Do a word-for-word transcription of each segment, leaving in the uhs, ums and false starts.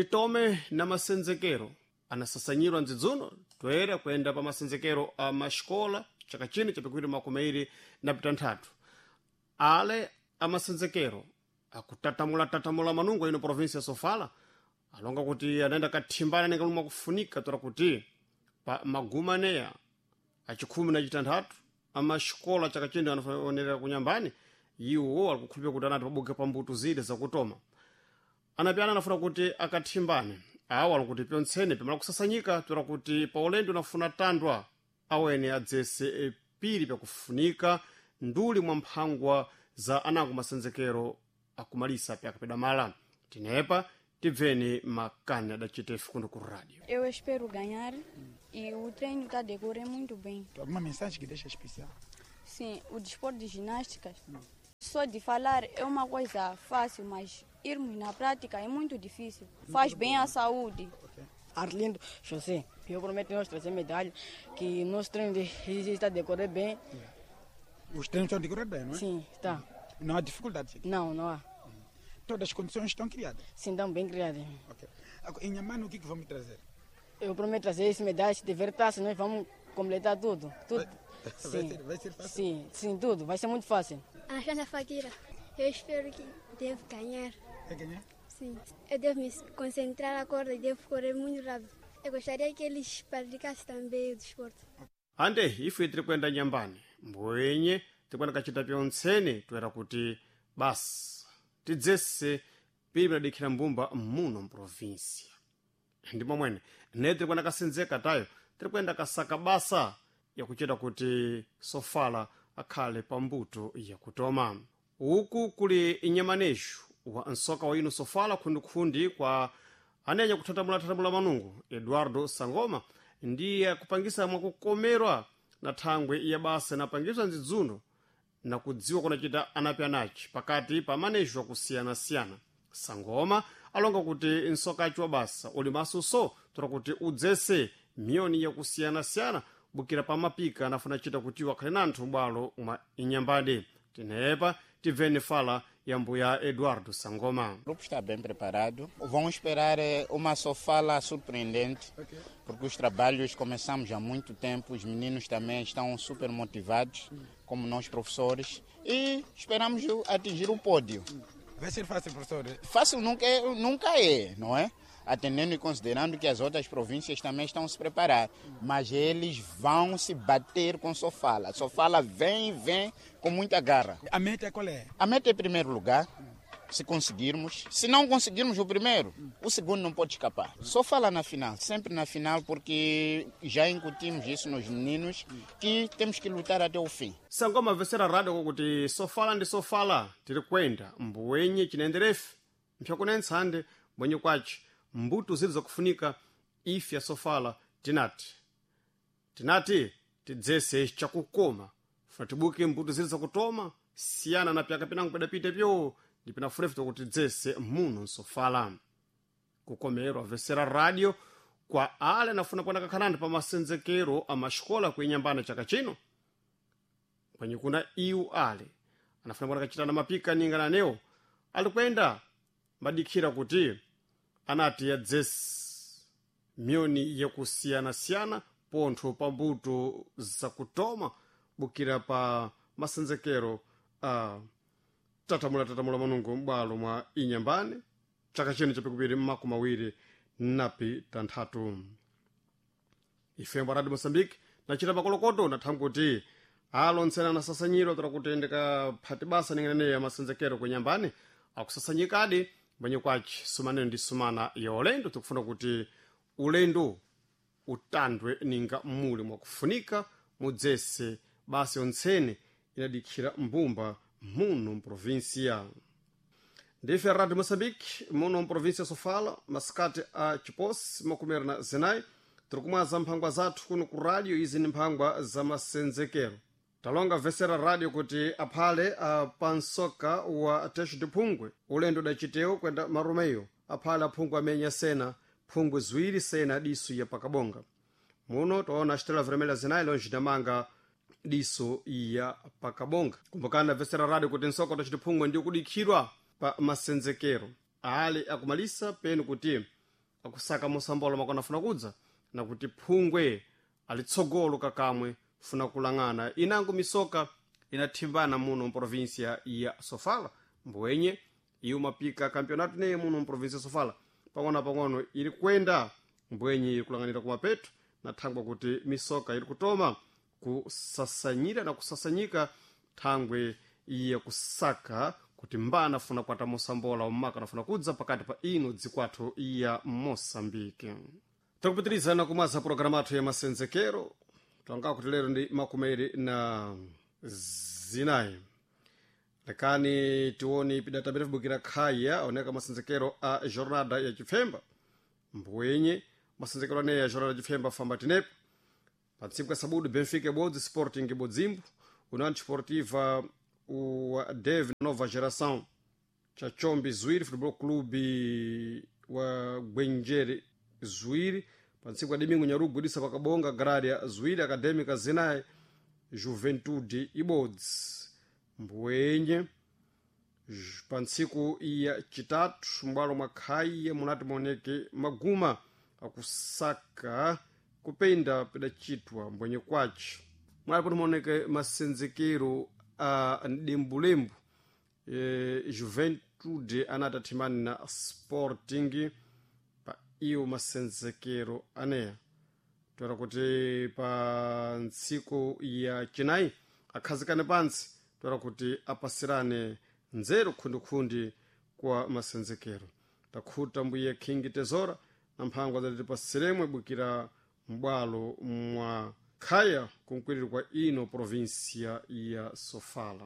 Titome na masenzekero anasasanyirwa ndzidzuno toera kuyenda pa masenzekero a maxikola chaka chino chapikuti makumi airi na pitanthatu. Ale amasenzekero akutatamula-tatamula manungo ino província ya Sofala alonga kuti anaenda kathimbana ningalumwa kufunika tora kuti pa maguma aneya achikhumi na chitanthatu amaxikola chaka chino anaonera kunyambani iwo alikukhulupira kuti anati pabuke pambuto zile zakutoma anapyana anafuna kuti akathimbane awo alikuti pyontsene pimala kusasanyika tora kuti pa ulendo unafuna tandwa awene adzese eh, pili pyakufunika nduli mwa mphangwa za anango masenzekero akumalisa pyakapedwa mala. Tinepa tibveni makani adacitefu kuno ku rádio. Eu espero ganhar e o treino está a decorrer muito bem. Alguma mensagem que deixa especial? Sim, o desporto de ginástica, só de falar é uma coisa fácil, mas irmos na prática é muito difícil. Faz bem à saúde. Arlindo José, eu prometo nós trazer medalha, que nosso treino de, está a decorrer bem. Os treinos estão a decorrer bem, não é? Sim, está. Não há dificuldades aqui? Não, não há. Todas as condições estão criadas? Sim, estão bem criadas. Ok. Agora, em Inhambane, o que, que vamos trazer? Eu prometo trazer esse medalha, se tiver taça, nós vamos completar tudo. Tudo. Vai, Sim. vai, ser, vai ser fácil? Sim, sim, tudo. Vai ser muito fácil. Alexandra Fakira, eu espero que devo ganhar. Vai ganhar? Sim. Eu devo me concentrar agora e devo correr muito rápido. Eu gostaria que eles praticassem também o desporto. Ande ife tiri kuyenda nyambani mbwenye tikuenda kachita pyontsene toera kuti basi tidzese pili pinadikhira mbumba muno mprovinsia ndi momwene ne tiri kuyenda kasenzeka tayo tiri kuyenda kasaka basa yakuchita kuti Sofala akhale pambuto yakutoma. Uku kuli inyamanejo wa nsoka wa ino Sofala khundikhundi kwa anenya kuthatamula-thatamula manungo Eduardo Sangoma ndiye akupangisa mwakukomerwa na thangwe ya basa inapangiswa ndzidzuno na kudziwa kunachita anapi anachi pakati pa manejo akusiyana-siyana. Sangoma alonga kuti nsokachi wa basa uli masuso tora kuti udzese miyoni yakusiyana-siyana bukira pa mapika anafuna chita kuti wakhale nanthu bwalo mwa inyambade. Tinepa tibveni fala ya mbuya Eduardo Sangoma. O grupo está bem preparado. Vão esperar eh, uma Sofala surpreendente, porque os trabalhos começamos há muito tempo, os meninos também estão super motivados, como nós professores, e esperamos o- atingir o pódio. Vai ser fácil, professor? Fácil nunca é, nunca é, não é? Atendendo e considerando que as outras províncias também estão a se preparar, mas eles vão se bater com Sofala. Sofala vem, vem com muita garra. A meta qual é? A meta é primeiro lugar, se conseguirmos. Se não conseguirmos o primeiro, o segundo não pode escapar. Só fala na final, sempre na final, porque já incutimos isso nos meninos, que temos que lutar até o fim. Sangoma vesera radio kuti Sofala ndi Sofala tiri kwenda mbuwenye chinenderefe mpyakunentsande mbwenye kwaci mbuto zili zakufunika ife ya Sofala tinati tinati tidzese chakukoma funa tibuke mbuto zili zakutoma siyana na pyaka pinango pedapite pyo ndi pinafunefu tokuti tidzese muno nsofala. Kukomerwa vesera radio kwa ale anafuna kuenda kakhanani pa masenzekero a maxikola kuinyambana chaka chino kwenye kuna iwu ale anafuna kuenda kachitana mapika ningana newo alikwenda madikhira kuti anati yadzesi miyoni yakusiyana-siyana pontho pa mbuto zakutoma bukira pa masenzekero a tatamula-tatamula manungo m'bwalo mwa inyambane chaka chino chapikupiri mmakumi awiri napi tanthatu. Ifembo Radio Moçambique nachita makolokoto nathambi kuti alontsena anasasanyiro tora kuti ndikaphati basa ningenene ya masenzekero kunyambani akusasanyikadi mbwenye kwaci sumanene ndi sumana ya ulendo tikufuna kuti ulendo utandwe ninga muli mwakufunika mudzese basi yontsene inadikhira mbumba muno mprovinsia. Ndife Radio Moçambique muno mprovinsia Sofala masikati a Chiposi makumeri na zinayi tiri kumwaza mphangwa zathu kuno ku radio. Izi ni mphangwa za masenzekero. Talonga vesera radio kuti aphale pansoka wa texo de phungwe ulendo udacitewo kwenda marumeyo aphale aphungwe amenya sena phungwe ziwiri sena diso ya pakabonga. Muno taona estrela vermelha zinayi longe damanga diso ya pakabonga. Kumbukani vesera radio kuti nsoka wa texo de phungwe ndi kudikhirwa pa masenzekero ale akumalisa penu kuti akusaka mosambola makona afuna kudza na kuti phungwe alitsogolo kakamwe funa kulang'ana inango misoka inathimbana muno mprovinsia ya sofala mbwenye iyo mapika campeonato neye muno mprovinsia ya sofala pang'ono pang'ono ili kwenda mbwenye ili kulang'anira kumapeto na thangwa kuti misoka ili kutoma kusasanyira na kusasanyika thangwe iye kusaka kuti mbana afuna kwata mosambola umaka anafuna kudza pakati pa ino dzikwathu ya mosambike takupitirizana kumwaza pologalamu athu ya masenzekero twanga kuti lero ndi makumeri na zinayi lekani tione pidata bukira khaya oneka masenzekero a jornada ya chipfemba mbwenye masenzekero aneya ya jornada ya chipfemba famba tinepo pa ntsiku ya sabudu benfica ibodzi sporting ibodzimbo união desportiva o dev nova geração cha chombe zuiri futebol clube wa gwenjere zuiri pa ntsiku ya domingo nyarugu idisa pakabonga grária zuiri acadêmica zinayi juventude ibodzi mbwenye pa ntsiku ya chitatu m'bwalo mwa khaiya munati muoneke maguma akusaka kupenda pidachitwa mbwenye kwace munati kuti muoneke masenzekero a mdembulembu e, juventude anati athimani na sporting pa iyo masenzekero aneya toera kuti pa ntsiku ya chinayi akhazikane pantsi toera kuti apasirane nzeru khundikhundi kwa masenzekero takhuta mbuye king tezora na mphango adzatipasiremwe bukira m'bwalo mwa khaya kunkwiriri kwa ino provinsia ya sofala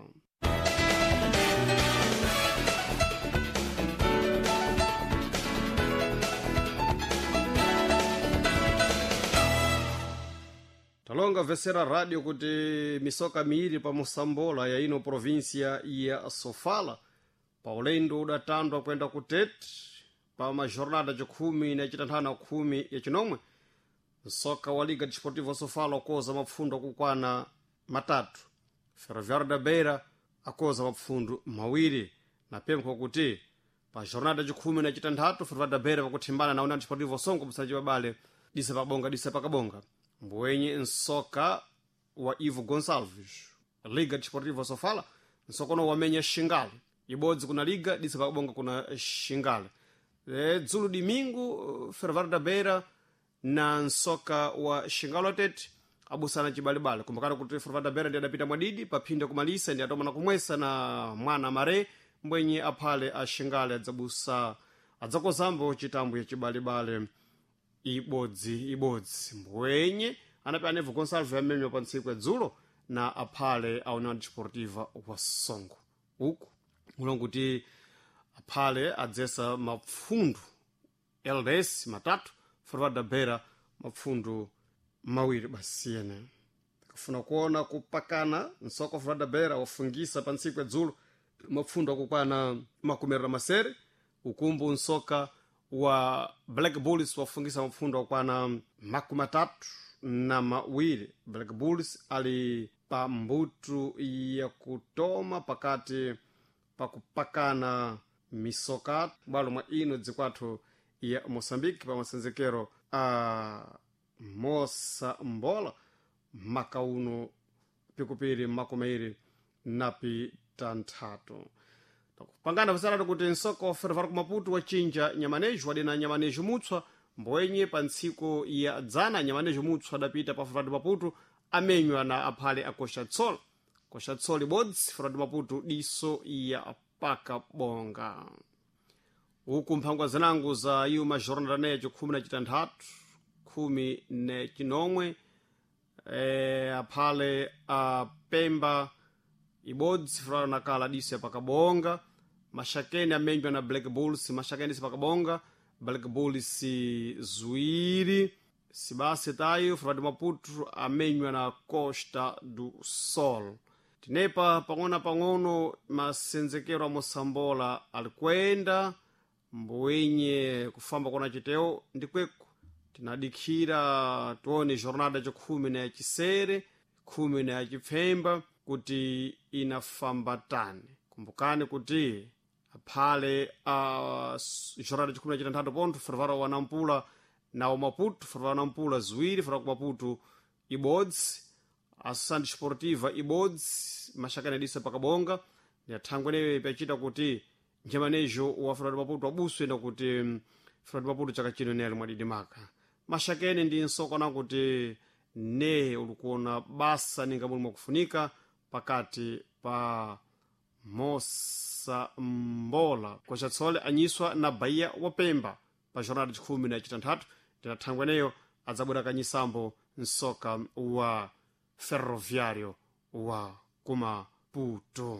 talonga vesera radio kuti misoka miiri pa mosambola ya ino provinsia ya sofala pa ulendo udatandwa kwenda ku tete pa majornada cikhumi na citanthanu na khumi ya cinomwe msoka wa liga desportiva sofala akoza mapfundo akukwana matatu ferroviário da beira akoza mapfundo mawiri na pempho kuti pa jornada cikhumi na citanthatu ferroviário da beira pakuthimbana na união desportiva songo msaji wabale disa pakabonga disa pakabonga mbwenye nsoka wa ivo gonçalves liga desportiva sofala nsokono wamenya xingale ibodzi kuna liga disa pakabonga kuna xingale e, dzulo domingo ferroviário da beira na nsoka wa xingalo tete abusana cibalibale kumbukana kuti ferroviário da beira ndi adapita mwadidi paphinda kumalisa ndi atoma na kumwesa na mwana mare mbwenye aphale a xingale adzabusa adzakozambo citambo ya cibalibale ibodzi ibodzi mbwenye anapi anevo gonsalves amenywa pa ntsiku ya dzulo na aphale a união desportiva wa songo uku ulonguti aphale adzesa mapfundu ls matatu ferroviário da beira mapfundu mawiri basiyene kafuna kuona kupakana nsoko ferroviário da beira wafungisa pa ntsiku ya dzulo mapfundu akukwana makumi na masere ukumbu nsoka wa black bulls wafungisa mapfundo akwana makumi atatu na mawiri black bulls ali pa mbutu ya kutoma pakati pakupakana misoka bwalo mwa ino dzikwathu ya moçambique pa masenzekero a mosambola maka uno pikupiri makumairi napi tanthatu pangana pasaratu kuti nsoko ferroviário ku maputo wachinja nyamanejo wadena nyamanejo mutswa mbwenye pa ntsiku ya dzana nyamanejo mutswa adapita pa ferroviário maputo amenywa na aphale a coxa tsol coxa tsol ibodzi ferroviário maputo diso ya pakabonga uku mphangwa zinango za iwo majornada necho khumi na citanthatu khumi ne cinomwe e, aphale a pemba ibodzi ferroviário nakala diso ya pakabonga maxakeni amenywa na black bulls maxakeni sipakabonga black bulls zuiri sibase tayo ferroviário maputo amenywa na costa do sol tinepa pang'ono-pang'ono masenzekero a mosambola alikwenda mbwenye kufamba kona chiteo ndikweko tinadikhira tione jornada yacikhumi na yacisere khumi na yacipfemba kuti inafamba tani kumbukani kuti Phale a uh, jornada chikhumi na chitanthatu pontho Ferroviário wa Nampula na wa Maputo, Ferroviário wa Nampula ziwiri, Ferroviário ku Maputo ibodzi, Associação Desportiva ibodzi, Mashakani adisa pakabonga. Ya thangwe neyo ipachita kuti njemanejo wa Ferroviário Maputo abuswe na kuti Ferroviário Maputo chaka chino nele mwadidimaka. Mashakeni ndi nsokona kuti ne ulikuona basa ninga muli mwakufunika pakati pa Mosa Mbola kochatsole anyiswa na Bahia wa Pemba pa jornada chikhumi na chitanthatu. Ndinathangwe neyo adzabwera kanyisambo msoka wa Ferroviário wa kumaputo.